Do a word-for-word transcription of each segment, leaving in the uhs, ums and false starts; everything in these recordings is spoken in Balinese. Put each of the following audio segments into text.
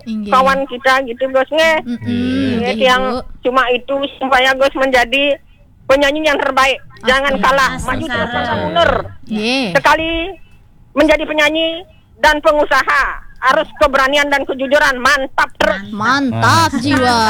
Inggih. Kawan kita gitu, Gus, nggih. Mm-mm, nggih, nggih, yang Ibu. Cuma itu supaya Gus menjadi penyanyi yang terbaik. Jangan kalah, maju terus, pantang mundur. Nggih. Sekali menjadi penyanyi dan pengusaha, harus keberanian dan kejujuran. Mantap terus. Mantap jiwa.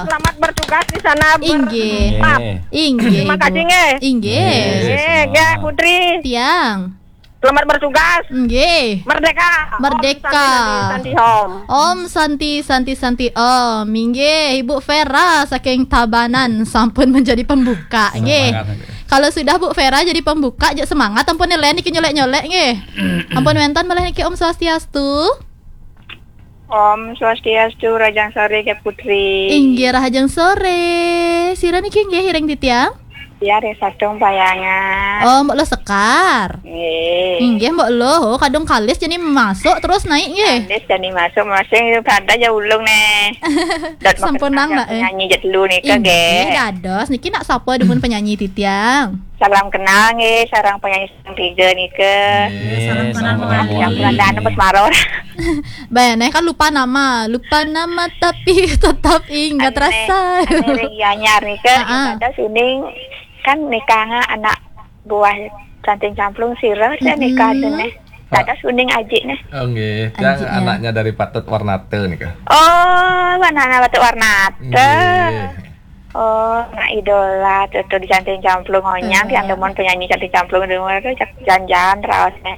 Selamat bertugas di sana. Inggih. Inggih. Terima kasih, nggih. Inggih. Nggih, nggih, Putri. Tiang. Selamat bertugas. Nggih. Merdeka. Merdeka. Om Santi, Santi, Santi, Om. Om Santi, Santi, Santi, Om. Inggih, Ibu Vera saking Tabanan sampun menjadi pembuka, nggih. Semangat, nggih. Kalau sudah Bu Vera jadi pembuka, jek semangat, ampun, Len, niki nyolek-nyolek, nggih. Ampun, wenten malih niki, Om Swastiastu. Om Swastiastu, rahajeng sore, Kak Putri. Inggih, rahajeng sore. Sira niki nggih, ring titiang? Ya, ring Satung Payangan. Oh, Mbok Lo Sekar. Nggih. Inggih, Mbok Lo. Oh, kadung kalis jani masuk terus naik nggih. Kalis jani masuk, masih pada ya ulung nih. Sampun nang, nak, eh. Penyanyi jet dulu nih, Kak, nggih. Inggih, dados. Niki nak sapa dumun penyanyi titiang? Salam kenal nggih, sareng penyanyi sareng tiga nika. Nggih, salam kenal, salam kenal. Yang bulan dan pas maror. Bayane kan lupa nama, lupa nama tapi tetap ingat rasa. Anu ring Gianyar nika, heeh. Ada suning kan nikahnya anak buah Canting Camplung sira, saya nikah dene. Ada suning ajik nih. Oh, nggih. Yang anaknya dari Patut Warnata nika. Oh, anaknya Patut Warnata. Nggih. Oh, anak idola tuh, tuh di Canting Camplung, onyang, yang demen penyanyi Canting Camplung, demen tuh cak jangan raosnya.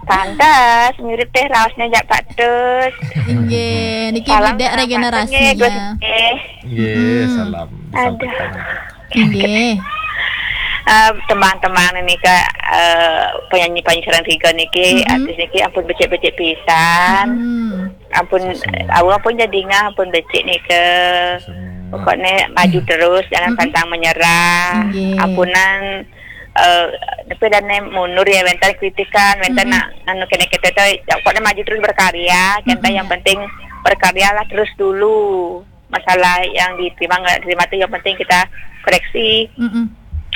Pantes mirip teh raosnya jak Pak Tus. Inggih, niki salam Bidek kenal regenerasinya. Pak Tus, nggih, Gus, nggih. Nggih, salam disampaikan. Aduh. Nggih. Eh, tembang-tembang niki, eh, penyanyi-penyanyi sareng tiga niki, artis niki ampun becik-becik pisan. Ampun, sama. Awak pun jadi ngah, ampun becik nika. Sama. Pokoknya maju terus, jangan pantang menyerah. Nggih. Ampunan, eh, tapi dan mundur ya, wenten kritikan, wenten nak anu kene kita tuh, ya, pokoknya maju terus berkarya. Kita yang penting berkaryalah terus dulu. Masalah yang diterima nggak diterima tuh yang penting kita koreksi.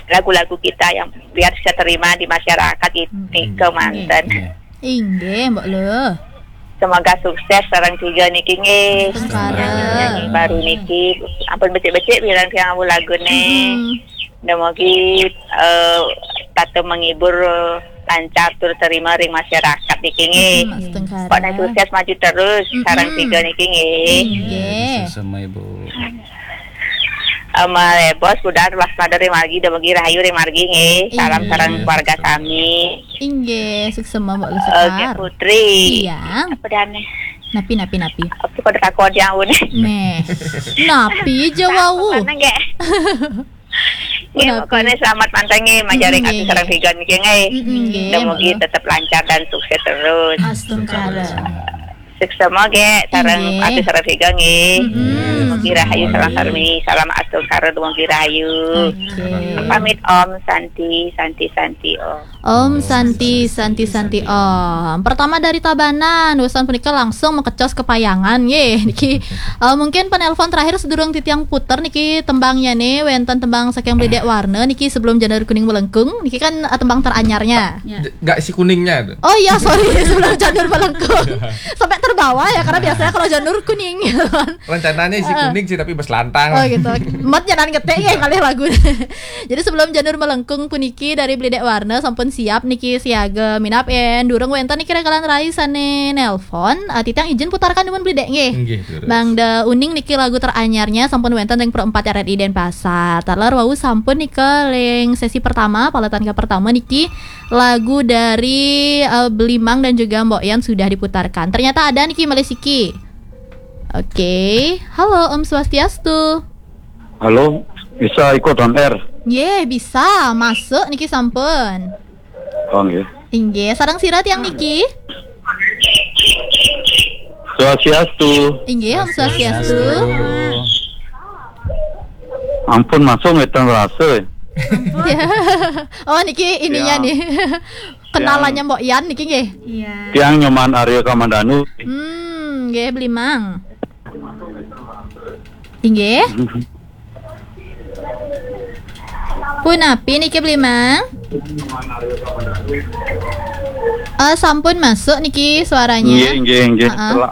Lagu-lagu kita yang biar bisa terima di masyarakat itu, nggih, kemanten. Nggih. Inggih, Mbok Lo. Semoga sukses sareng tiga niki nggih. Astungkara. Yang baru niki, ampun becik-becik bilang tiang awu lagune. Dumogi, eh, tato menghibur, lancar tur terima ring masyarakat niki nggih. Astungkara. Pokoknya sukses maju terus sareng tiga niki nggih. Inggih. Sama Ibu. Ama Bos, budal waspada ring margi, dumogi rahayu ring margi nggih. Salam sareng keluarga sami. Inggih, suksema Mbok Lo Sekar. Oke, Putri. Iya. Apa dane? Napi, napi, napi? Apa pada takon yang unik? Neh. Napi aja wau. Mana nggih? Nggih, pokoknya selamat manteng nggih, majaring ati sareng tiga niki nggih. Nggih, dumogi tetap lancar dan sukses terus. Astungkara. Suksema nggih, sareng ati sareng tiga nggih. Mugi rahayu sareng sarmi. Salam astungkara, mugi rahayu. Oke. Pamit Om Santi, Santi, Santi Om. Om Santi, Santi, Santi Om. Pertama dari Tabanan, usan punika langsung mekecos ke Payangan nggih. Niki, eh, mungkin penelpon terakhir sedurung titiang puter niki tembangnya nih, wenten tembang saking Bledek Warna niki sebelum Janur Kuning Melengkung. Niki kan, eh, tembang teranyarnya. Ya. J-, nggak si kuningnya tuh. Oh iya, sorry, sebelum Janur Melengkung. Sampai terbawa ya, karena biasanya kalau Janur Kuning gitu kan. Rencananya isi kuning sih, tapi beselantang. Oh gitu. Mot jangan ketek ya kali lagu. Jadi sebelum Janur Melengkung puniki dari Bledek Warna sampun siap niki siaga minab en. Durung wenten niki rekalan rai sane nelpon. Eh, titiang izin putarkan dumun Bledek nggih. Nggih, terus. Bang Da Uning niki lagu teranyarnya sampun wenten ring Pro empat R R I Denpasar. Taler wau sampun nika ring sesi pertama, paletan ke pertama niki lagu dari, eh, Belimang dan juga Mbok Yan sudah diputarkan. Ternyata ada niki malih siki. Oke, halo Om Swastiastu. Halo, bisa ikut on air? Nggih, bisa. Masuk niki sampun. Oh, nggih. Inggih, sareng sira tiang niki? Swastiastu. Inggih, Om Swastiastu. Ampun, masuk ngeten rasa. Ya. Oh, niki ininya nih. Kenalannya Mbok Yan niki nggih. Iya. Tiang Nyoman Arya Kamandanu. Hmm, nggih, Belimang. Inggih. Punapi niki, Belimang? Eh, sampun masuk niki suaranya. Nggih, nggih, nggih. Heeh. Telah,